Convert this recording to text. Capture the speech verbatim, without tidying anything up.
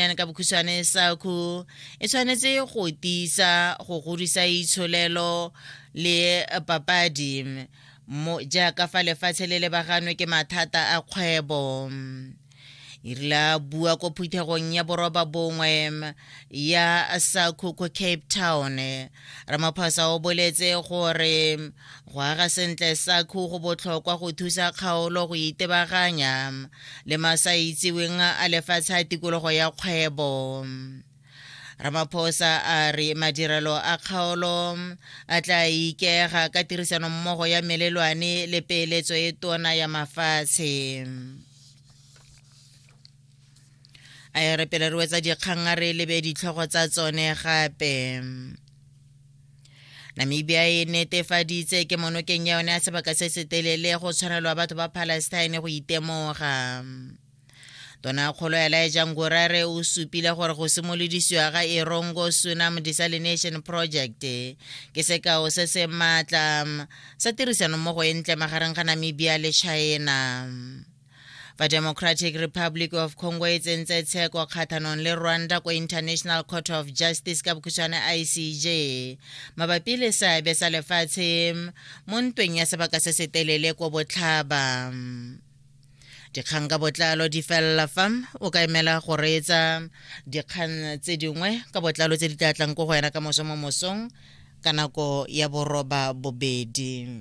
Union ka bokhutshwane SACU e tshwanetse go tiisa go godisa itsholelo le papadi mo jaaka fa lefatshe le lebaganwe ke mathata a kgwebo. E rile a bua ko phuthegong ya boroba bongwe ya SACU ko Cape Town, Ramaphosa o boletse gore go aga sentle SACU go botlhokwa go thusa kgaolo go itebaganya le masaitseweng a lefatshe a tikologo ya kgwebo. Ramaphosa a re madirelo a kgaolo a tla ikaega ka tirisanommogo ya melelwane le peeletso e tona ya mafatshe. A e re pele re wetsa dikgang a re lebe ditlhogo tsa tsone gape. Namibia e netefaditse ke monokeng ya yone ya sebaka se se telele go tshwanelwa batho ba Palestine go itemoga. Tonakgolo Elijah Ngurare o supile gore go simolodisiwa ga Erongo Sunam Desalination Project ke sekao se se maatla sa tirisanommogo e ntle magareng ga Namibia le China. Fa Democratic Republic of Congo e tsentse tsheko kgatlhanong le Rwanda ko International Court of Justice ka bokhutshwane I C J mabapi le seabe sa lefatshe mo ntweng ya sebaka se se telele ko botlhaba. Dikgang ka botlalo di felela fa o ka emela go reetsa dikgang tse dingwe ka botlalo tse di tla tlang ko go wena ka moso mo mosong ka nako ya boroba bobedi.